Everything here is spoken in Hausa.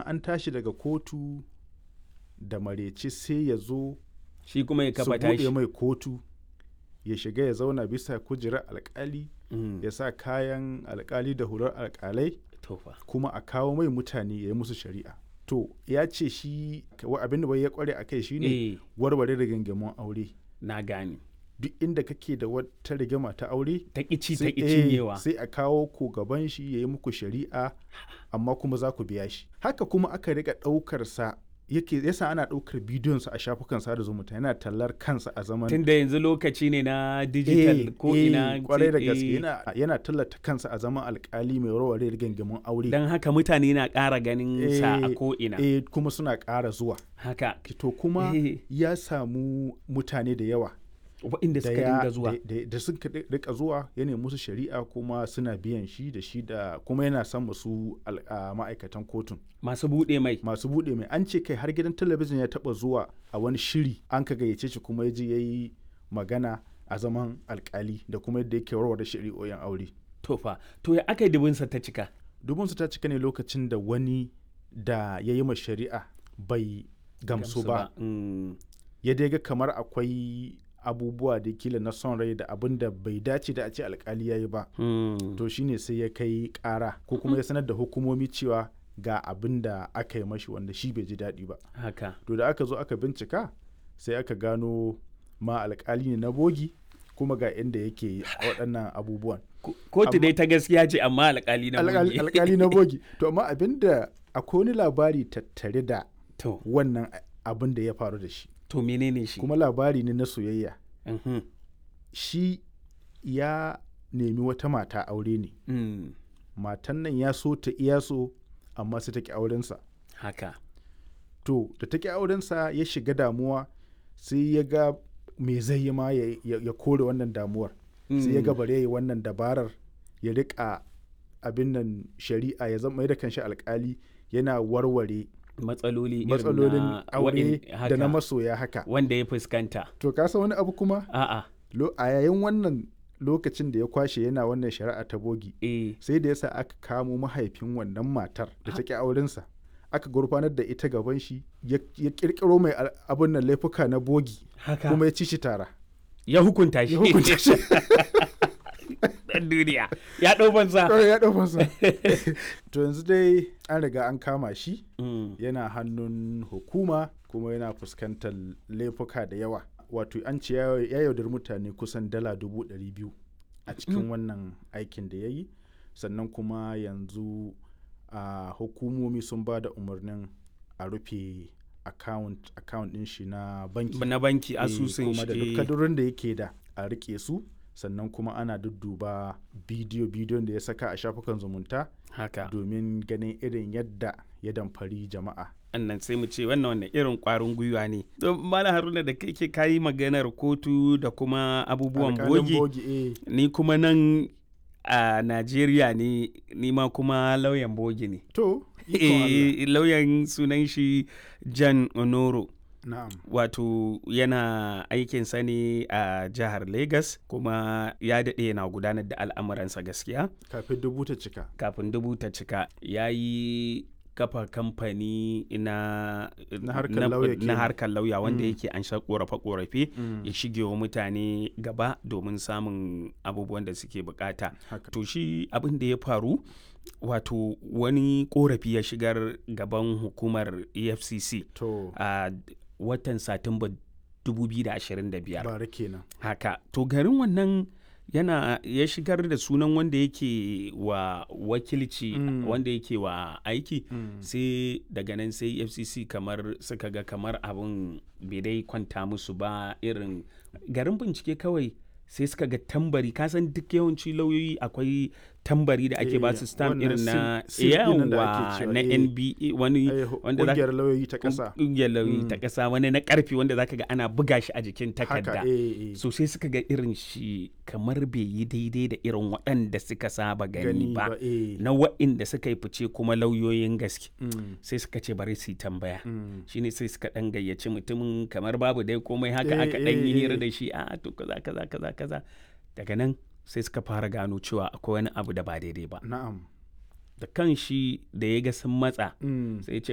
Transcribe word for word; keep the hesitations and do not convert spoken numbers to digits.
An tashi daga kotu da marece sai ya zo Shi kuma ya su kafa buɗe tashi. mai kotu, ya shiga ya zauna bisa kujerar alkali, Mm. ya sa kayan alkali da hular alkalai, To fa. kuma a kawo mai mutane ya yi musu shari'a. To ya ce shi wa abin da bai ya kware a kai shine Eh, warware rigingimun aure. na gane. Duk inda kake da wata rigima ta aure, Ta ƙici ta sai ƙi eh, cinyewa. sai a kawo ku gaban shi ya yi muku shari'a, amma kuma za ku biya shi. Haka kuma aka rika ɗaukar sa, yake yasa ana ɗaukar bidiyon sa a shafukan sada zumunta yana tallar kansa a zaman Tunda yanzu lokaci ne na digital Eh, ko eh, ina. kwarai da gaske, eh, yana yana tallata kansa a zaman alkali mai warware rigingimun aure. Don haka mutane na ƙara ganin sa a Eh, ko ina. eh, kuma suna ƙara zuwa. Haka. To kuma Eh. ya samu mutane da yawa Waɗanda da suka ya dinga zuwa. da, da, da suka di- rika zuwa ya nemi musu shari'a kuma suna biyan shi da shi da kuma yana son masu al- a ma'aikatan kotun Masu buɗe mai. masu buɗe mai. An ce kai har gidan talabijin ya taɓa zuwa a wani shiri an ka gayyace shi, kuma ya je ya yi magana a zaman alkali da kuma yadda yake warware shari'o'in aure. To fa. To ya aka yi dubinsa ta cika? Dubunsu ta cika ne lokacin da wani da ya yi ma shari'a bai gamsu ba, Mm. ya dai ga kamar akwai abubuwa da kila na son rai da abin da bai dace da a ce alkali ya yi ba. Mm. To shine sai ya kai kara ko kuma ya sanar da hukumomi cewa ga abin da aka yi mashi wanda shi bai ji daɗi ba. Haka. To da aka zo aka bincika sai aka gano ma alkali ne na bogi, kuma ga inda yake waɗannan abubuwan. Ko- Kotu dai ta gaskiya ce amma alƙali na Alƙali bogi. alƙali na bogi. To amma abin da akwai wani labari tattare da To, wannan abin da ya faru da shi, to menene shi? kuma labari ne na soyayya. Mhm. Shi ya nemi wata mata aure ne. Mm. Matan nan ya so ta iya so, amma sai ta ki aurensa. Haka. To da ta ki aurensa ya shiga damuwa, sai ya ga me zai yi ma ya, ya, ya kore wannan damuwar. Sai ya ga bare ya yi wannan dabarar, ya riƙa abin nan shari'a, ya zama da kanshi alkali yana warware Matsaloli irin matsalolin na aure wa'in- da na haka, masoya haka. wanda ya fuskanta. To ka san wani abu kuma? A'a. Lo- a yayin wannan lokacin da ya kwashe yana wannan shari'a ta bogi, Eh. sai da yasa aka kamo mahaifin wannan matar da ta ƙi aurensa, aka gurfanar da ita gaban shi, ya ya kirkiro mai al- abin nan laifuka na bogi, Haka. kuma ya ci shi tara. Ya hukunta shi. Ya hukunta shi. Ɗan duniya. Ya ɗau banza. Kawai ya ɗau fansa. To yanzu dai an riga an kama shi, Mm. yana hannun hukuma kuma yana fuskantar laifuka da yawa. Wato an ce ya ya yaudari mutane kusan dala dubu ɗari biyu a cikin wannan aikin da ya yi. Sannan kuma yanzu a hukumomi sun ba da umarnin a rufe account account ɗin shi na banki. Na banki Eh, asusun kuma da duk shi. kadurin da yake da a rike su. Sannan kuma ana dudduba bidiyo bidiyon da ya saka a shafukan zumunta Haka. domin ganin irin yadda ya damfari jama'a. Annan sai mu ce wannan wannan irin kwarin gwiwa ne. To Malam Haruna, da kai ke kayi maganar kotu da kuma abubuwan Alƙalin bogi. eh. Ni kuma nan a Najeriya ne, ni ma kuma lauyan bogi ne. To, ikon Allah. Eh, lauyan sunan shi Jan Onoro. Na'am. Wato yana aikinsa ne a jihar Lagos, kuma ya daɗe yana gudanar da al'amuransa gaskiya. Kafin dubu ta cika. Kafin dubu ta cika ya yi kafa kamfani na Na harkar lauya na kenan. harkar lauya wanda yake an sha korafe-korafe, ya shige wa mutane gaba domin samun abubuwan da suke bukata. Haka. To shi abin da ya faru, wato wani korafi ya shigar gaban hukumar E F C C To, a watan Satumba dubu biyu da ashirin da biyar. Bara kenan. Haka. To garin wannan yana ya shigar da sunan wanda yake wa wakilci, Mm. wanda yake wa aiki. Mm. Sai daga nan sai F C C kamar suka ga kamar abin bai dai kwanta musu ba, irin garin bincike kawai sai suka ga tambari. Kasan duk yawanci lauyoyi akwai tambari da ake Eh, ba su, stamp wannan irin na seal- seal ɗin nan da ake yawa cewa, na eh. N B A wani Eh, wanda za Ƙungiyar lauyoyi ta ƙasa. Ƙungiyar lauyoyi ta ƙasa, wani na ƙarfi wanda zaka ga ana buga shi a jikin takarda. Haka, eh, eh. So sai suka ga irin shi kamar bai yi daidai da irin waɗanda suka saba gani Gani ba, ba, eh. na waɗanda suka yi fice kuma lauyoyin gaske. Mm. Sai suka ce bari su yi tambaya. Mm. Shine sai suka ɗan gayyaci mutumin kamar babu dai komai haka, Eh, aka ɗan yi eh, hira eh. da shi, a to kaza kaza kaza kaza. Daga nan sai suka fara gano cewa akwai wani abu da ba daidai ba. Na'am. Da kan shi da ya ga sun matsa Mm. sai ya ce